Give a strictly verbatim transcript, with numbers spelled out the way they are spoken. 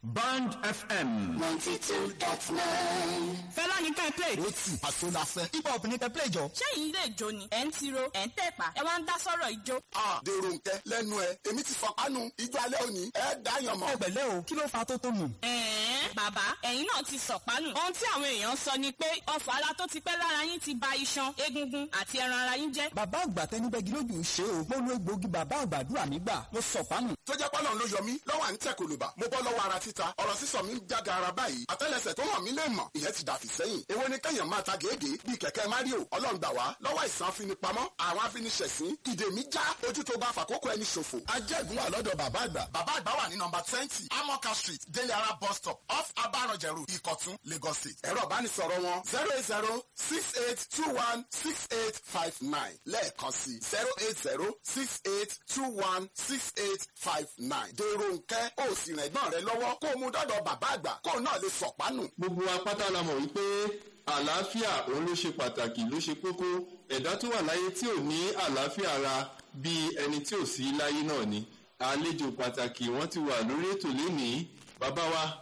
Band F M. ninety two dot nine. Fẹlá ní ká ẹ play. Ó tì àṣọ la fẹ́. Hip hop ní kẹ́ play jọ. Ṣé yìí lè jó ni? Ẹ̀ ń tiro, ẹ̀ ń tẹ̀pá, ẹ wá ń dá sọ̀rọ̀ ijó. A dèrò nkẹ lẹ́nu ẹ, èmi ti fọpánu ijó alẹ́ òní, ẹ dáyàn mọ́. Ẹ pẹ̀lẹ́ o, kí ló fa tó tó nù? Ẹ̀ẹ́n, bàbá, ẹ̀yin náà ti sọ̀pánù. Ohun tí àwọn èèyàn sọ ni pé ọfọ̀ ara tó ti pẹ́ lára yín ti ba iṣan, egungun àti ẹran ara yín jẹ́. Bàbá àgbà tẹnubẹ́gi lójú ṣe o. Mo lo egbòogi bàbá àgbàdúrà mi gbà. Mo sọ̀pánù. Tó jẹ́ pọ́lọ́n ló yọ mí lọ́wọ́ à ń tẹ̀ kòlòbà. Mo bọ́ lọ́wọ́ ara títa, ọ̀rọ̀ sísọ mi ń jága ara báyìí. Àtẹ́lẹsẹ̀ tó hàn mí lè mọ̀, ìyẹn ti dàfí sẹ́yìn. Èwo ni kẹ́yàn máa ta gègé bíi kẹ̀kẹ́ Mario? Ọlọ́run gbà wá lọ́wọ́ ìsàn afinipamọ́, àwọn afiniṣẹ̀sín, ìdè mi já, ojú tó bá fàkókò ẹni ṣòfò. Ajẹ́gun wà lọ́dọ̀ bàbá àgbà. Bàbá àgbà wà ní nọmba twenty, Amoka Street, Délé Ara bus stop, off Abaranjẹ Road, Ìkọ̀tún, Lagos State. Ẹ̀rọ ìbánisọ̀rọ̀ wọn zero eight zero six eight two one six eight five nine lẹ́ẹ̀kan sí zero eight zero six eight two one six eight five nine. Dèrò nkẹ́ ó sì rìn ẹ̀gbọ́n rẹ lọ́wọ́ kó o mú dọ́dọ̀ bàbá àgbà kó o náà lè sọ̀pánù. Gbogbo wa pátá la mọ̀ wípé àlàáfíà òun ló ṣe pàtàkì, ló ṣe kókó. Ẹ̀dá tó wà láyé tí ò ní àlàáfíà ara, bí ẹni tí ò sí láyé náà ni. Àlejò pàtàkì wọ́n ti wà lórí ètò lénìí, bàbá wa.